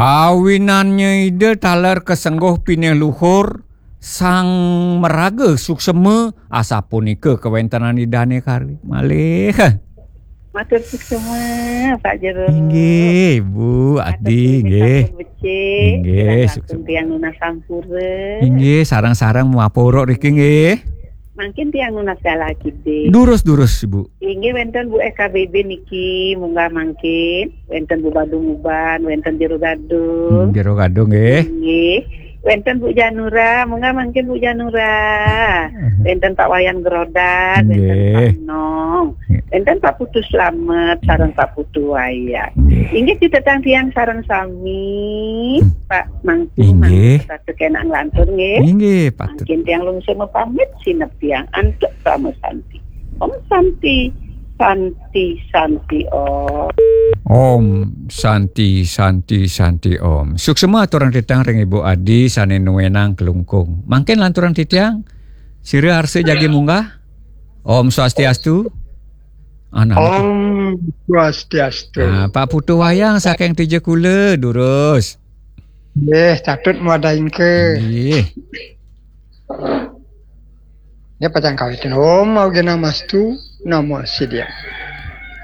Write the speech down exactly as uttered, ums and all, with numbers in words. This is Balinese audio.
Awinannya Ida taler kasengguh pinih luhur, sang maraga suksema, asapunika kawentenan Idane kari. Malih. Matur suksema, Pak Jero. Inggih, Bu Adi, inggih. Sampun becik. Inggih, kirang langkung suksema. Tiang nunas sampura. Inggih, sareng-sareng mapuruk riki, nggih. Mangkin tiang nunas galah kidih. Durus, durus, Bu. Inggih, wenten Bu F K B B niki, munggah mangkin. Wenten Bu Badung Uban, wenten Jero Gadung. Hmm, Jero Gadung, nggih. Inggih. Wenten Bu Janura, munggah mangkin Bu Janura. Wenten Pak Wayan Gerodak, wenten Pak Nong. Nggih. Wenten Pak Putu Slamet, sareng Pak Putu Wayang. Nggih. Inggih, titiang tiang sareng sami, Pak Mangku, inggih. Mangku, patut kenak nglantur, nggih. Inggih, patut. Mangkin tiang lungsur mapamit, sineb tiang antuk Parama Santi. Om Santi, Santi, Santi, Om. Om Santi, Santi, Santi, Om. Suksema aturang titiang ring Ibu Adi sane nuenang Klungkung. Mangkin lanturang titiang, sira arsa jagi munggah. Om Swastiastu. Anak. Om Swastiastu. Nah, Pak Putu Wayang saking Tija Kula, durus. Nggih, patut mawadahin ke. Nggih. Dia pacang kawitin. Om Awgena Mastu, Namo Siddhaya.